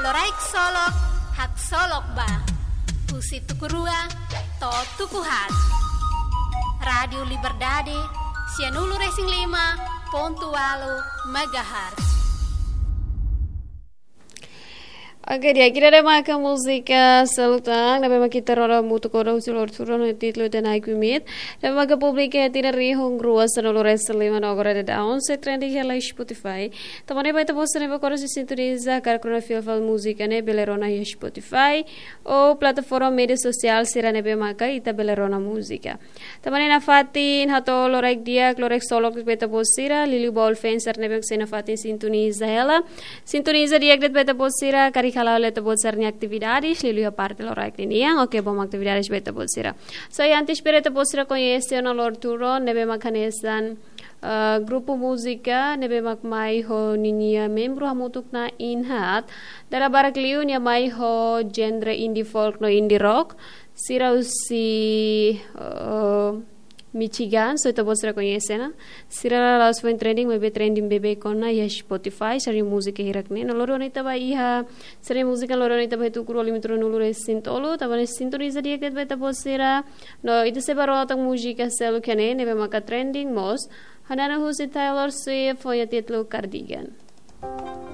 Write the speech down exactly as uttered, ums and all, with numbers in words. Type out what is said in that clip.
Loraik Solok, haksolok ba. Husi tuku rua to'o tuku haat. Rádiu Liberdade, sianulu-resin-lima pontu ualu megahertz. Oke, di'ak, ida-ne'e maka múzika seluk tan ne'ebé mak ita rona hamutuk ona husi loron ohin, títulu The Night We Meet. Ne'ebé maka publika iha tinan rihun rua sanulu-resin-lima no agora daudaun sei trending hela iha Spotify. Tanba ne'e ba ita-boot sira ne'ebé agora sei sintoniza karik rona fila fali múzika ne'e, bele rona iha Spotify ou plataforma média sosiál sira ne'ebé maka ita bele rona múzika. Tanba ne'e nafatin hato'o loraik di'ak, loraik solok ba ita-boot sira, liuliu ba all fans sira ne'ebé mak sei nafatin sintoniza hela. Sintoniza di'ak de'it ba ita-boot sira, karik hala'o hela ita-boot sira-nia atividades, liuliu iha parte loraik ninian, oke, bom atividades ba ita-boot sira. So, i antes para ita-boot sira koñese ona loron tulun ne'ebé mak hanesan, eh, grupu múzika ne'ebé mak mai ho ninia membru hamutuk na'in haat. Dala barak liu nia mai ho genre indie folk no indie rock. Sira husi, eh, Michigan, so ita-boot sira koñese ona. Sira la'ós foin trending, maibé trending beibeik ona iha Spotify, sira-nia múzika hirak ne'e. No loron ita ba iha, sira-nia múzika loron ita ba iha tuku rua lima tulunulu-resin-tolu, tanba ne'e sintoniza di'ak de'it ba ita-boot sira. No ita sei ba rona tan múzika seluk iha ne'e, ne'ebé maka trending mós. Hanesan husi Taylor Swift, ho nia títulu Cardigan.